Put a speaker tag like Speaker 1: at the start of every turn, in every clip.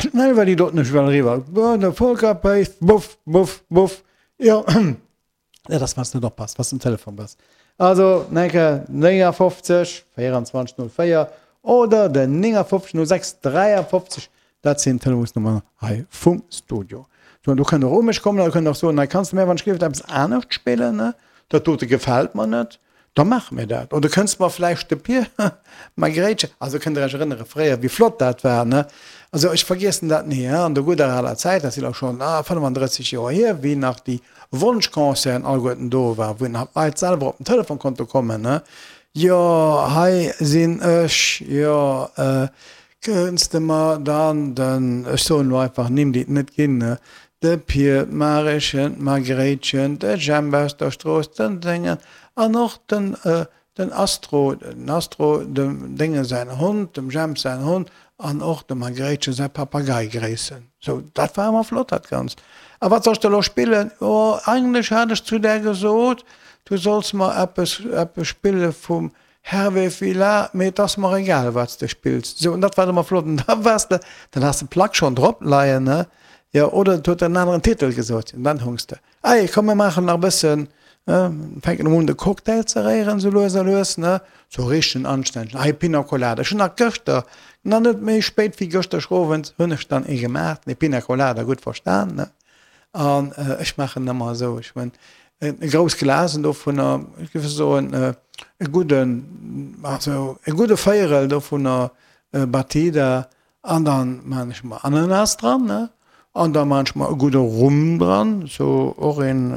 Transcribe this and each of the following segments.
Speaker 1: Schnell war déi doten ech well eriwwer. De Volker Pace, buff, buff, buff. Jo, dat ass, wann s de net oppasst, wann s de um Telefon bass. Also, Enke 59 24 04 oder den 59 06 53, dat sinn d'Telefonsnummeren hei vum Studio. So, an do kënnt der och u mech kommen, da kënnt der och soen, hei kanns de mär wann ech géif eppes anescht spillen, ne? Dat dote gefält mer net. Da maache mir dat. Oder kënnst mer vläicht de Pier Margréitchen, also kënnt Der Iech erënnere fréier, wéi flott dat war, ne? Also ech vergiessen dat ni, hein, an der gudder aler Zäit, dat si lo schonn 35 Joer hier, wéi nach déi Wonschconcerten alleguerten do waren, wou nach d'Leit selwer op den Telefon konnte kommen, ne? Jo, hei sinn ech, jo, Kënns de mer dann den, ech soen elo einfach Nimm, déi et net ginn, ne, de Pier, d'Marechen, d'Margréitchen, de Jemp aus der Strooss, den Déngen an och den, den Astro, den Astro, dem Dénge säin Hond, dem Jemp säin Hond an och dem Margréitchen säi Papagei gréissen. Sou, dat war ëmmer flott, dat Ganzt. A wat soll ech da elo spillen? Jo, eigentlech hat ech zu där gesot, du solls mer eppes, eppes spille vum Hervé Villa, mee et ass mer egal wat s de spills. Sou, an dat war ëmmer flott. An da waars de, dann has de d'Plack schonn drop leien, ne? Jo, oder et huet en aneren Titel gesot. An dann hungs de, Ey, komm mir maachen nach e bëssen, ne? Fänken emol un de Cocktail ze réieren, sou lues a lues, ne? Sou richtegen anstännegen, hei Pina Colada. Ech hunn nach gëschter, nach net méi spéit wéi gëschter Owend, hunn ech dann ee gemaach, nee Pina Colada, gutt verstan, ne? An ech maachen ëmmer esou, ech hunn e grouss Glasen dovunner, ech géif soen e gudden, also e gudde Véierel dovunner Batida an dann maan ech mer Ananas dran, ne, an da maan ech mer e gudde Rum dran, sou och een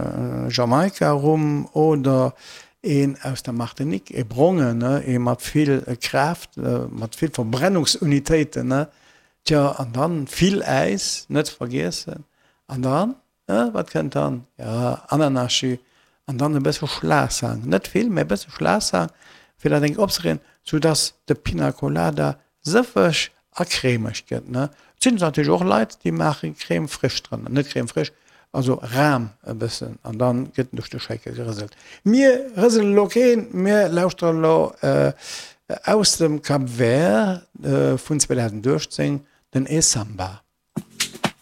Speaker 1: Jamaika Rum oder een aus der Martinique, ee brongen, ne, ee mat vill Kraaft, mat vill Verbrennungsunitéiten, ne, tjo, an dann vill Äis, net vergiessen, an dann Wat kënnt dann? Jo, Ananasjus an dann e bësse Schlagsahn. Net vill, mä e bësse Schlagsahn, fir dat enk opzereegen, soudass de Pina Colada sëffeg a cremeg gëtt, ne? Et sinn natierlech och Leit, déi maache Crème fraîche drënner, net Crème fraîche, also Ram e bëssen, an dann gëtt en duerch de Shaker gerëselt. Mir rëselen elo keen, mir lauschteren elo aus dem Cap Vert vun 2018 den E Samba.